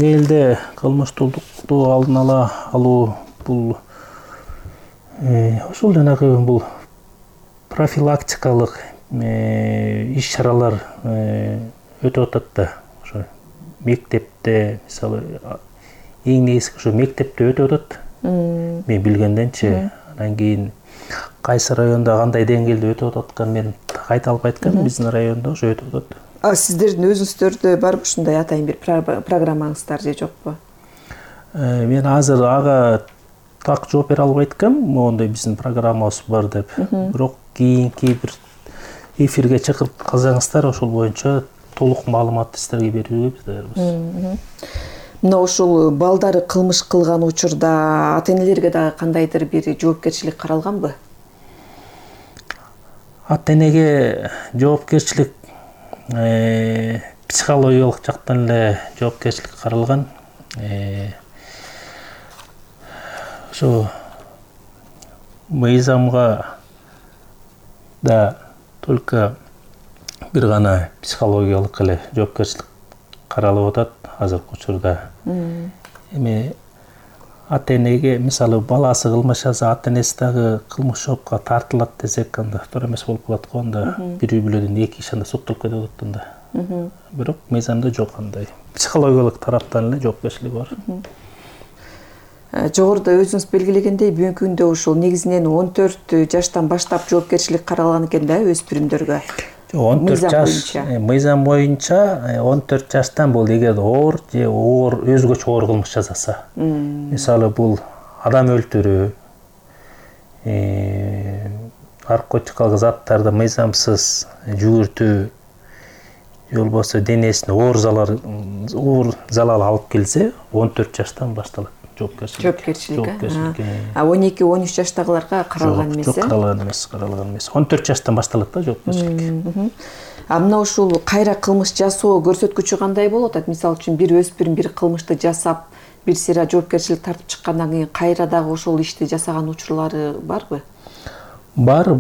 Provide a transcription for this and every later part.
Элде кылмыштуулукту алдын ала алуу бул ошол жанагы бул профилактикалык иш-чаралар өтүп атат да. Ошо мектепте, мисалы, эң негизги ошо мектепте өтүп атат. Мен билгенденчи, анан кийин кайсы районда кандай деңгээлде өтүп атканын мен айта албайт экенмин. Биздин райондо ошо өтүп атат. Сиздердин өзүңүздөрдө барбы ушундай атайын бир программаңыздар же жокпу? Мен азыр ага так жооп бере албайт экенмин, моундай биздин программабыз бар деп. Бирок кийинки бир эфирге чакырып калсаңыздар, ошол боюнча толук маалыматты сиздерге берүүгө биз даярбыз. Мына ушул балдары кылмыш кылган учурда ата-энелерге дагы кандайдыр бир жоопкерчилик каралганбы? Ата-энеге жоопкерчилик психологиялык жактан эле жоопкерчилик каралган. Ошо мыйзамга да только бир гана психологиялык эле жоопкерчилик каралып атат азыркы учурда. Эми ата-энеге, мисалы, баласы кылмыш жасаса, ата-энеси дагы кылмыш жоопко тартылат десек, анда туура эмес болуп калат го. Анда бир үй бүлөдөн эки киши анда соттолуп кетип атат анда. Бирок мыйзамда жок андай. Психологиялык тараптан эле жоопкерчилик бар. Жогоруда өзүңүз белгилегендей, бүгүнкү күндө ушул негизинен 14 жаштан баштап жоопкерчилик каралган экен да өспүрүмдөргө. 14 жаш мыйзам боюнча 14 жаштан бул эгер оор же өзгөчө оор кылмыш жасаса. Мисалы, бул адам өлтүрүү, наркотикалык заттарды мыйзамсыз жүгүртүү, же болбосо денесине оор залал алып келсе, 14 жаштан башталат жоопкерчилик. 12-13 жаштагыларга каралган эмес. Жок, каралган эмес. 14 жаштан башталат да жоопкерчилик. Мына ушул кайра кылмыш жасоо көрсөткүчү кандай болуп атат? Мисалы үчүн бир өспүрүм бир кылмышты жасап, бир сыйра жоопкерчилик тартып чыккандан кийин кайра дагы ошол ишти жасаган учурлары барбы? Бар,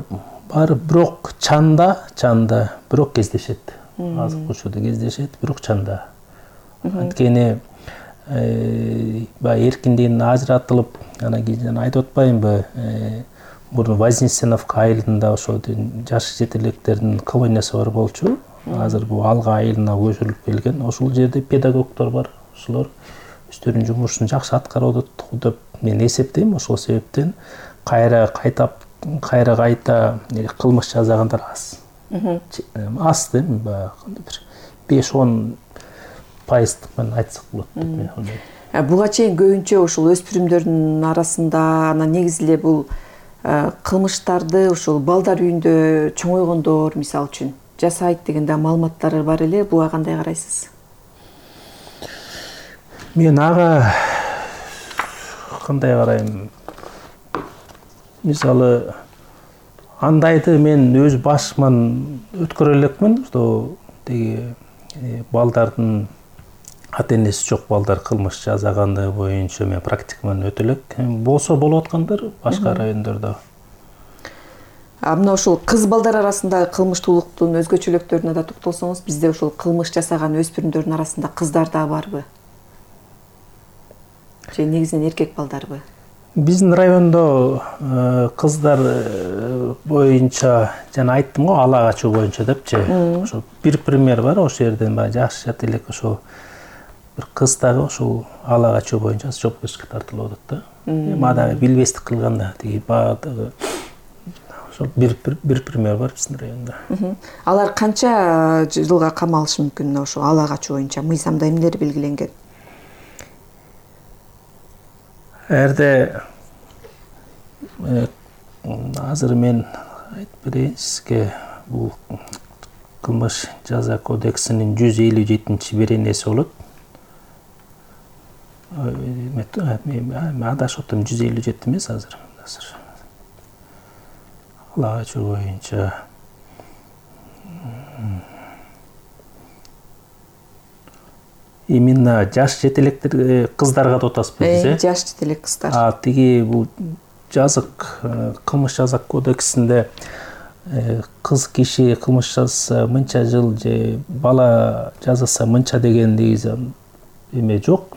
бирок чанда, бирок кездешет. Азыркы учурда кездешет, бирок чанда. Анткени эркиндигинен ажыратылып, анан кийин айтып атпаймынбы, мурун Вознесеновка айылында ошол жаш жетелектердин колониясы бар болчу. Азыр бул Алга айылына көчүрүлүп келген. Ошол жерде педагогдор бар. Ошолор өздөрүнүн жумушун жакшы аткарып атат деп мен эсептейм. Ошол себептен кайра кайта кылмыш жасагандар аз. Аз дейм, бир 5-10% менен айтсак болот деп мен ойлойм. Буга чейин көбүнчө ушул өспүрүмдөрдүн арасында анан негизи эле бул кылмыштарды ушул балдар үйүндө чоңойгондор, мисалы үчүн, жасайт деген да маалыматтар бар эле. Буга кандай карайсыз? Мен ага кандай карайм? Мисалы, андайды мен өз башыман өткөрө элекмин, что деги балдардын ата-энеси жок балдар кылмыш жасаганы боюнча мен практикаман өтө элек. Болсо болуп аткандар башка райондордо. Мына ушул кыз балдар арасындагы кылмыштуулуктун өзгөчөлүктөрүнө да токтолсоңуз, бизде ушул кылмыш жасаган өспүрүмдөрдүн арасында кыздар да барбы? Же негизинен эркек балдарбы? Биздин райондо кыздар боюнча жана айттым го, ала качуу боюнча депчи. Ошо бир пример бар, ошол жерден жаш жетелек ошол бир кыз дагы ошол ала качуу боюнча жоопкерчиликке тартылып атат да. Эми дагы билбестик кылган да, тиги баягы ошол бир пример бар биздин райондо. Алар канча жылга камалышы мүмкүн ошо ала качуу боюнча? Мыйзамда эмнелер белгиленген? Эрде азыр мен айтып берейин сизге, бул кылмыш жаза кодексинин 157-беренеси болот. Мен адашып атам, 157 эмес азыр. Ала качуу боюнча именно жаш жетелектер кыздарга деп атасызбы биз, жаш жетелек кыздар. Тиги бул жазык кылмыш жаза кодексинде кыз киши кылмыш жасаса мынча жыл же бала жасаса мынча деген негизи эме жок,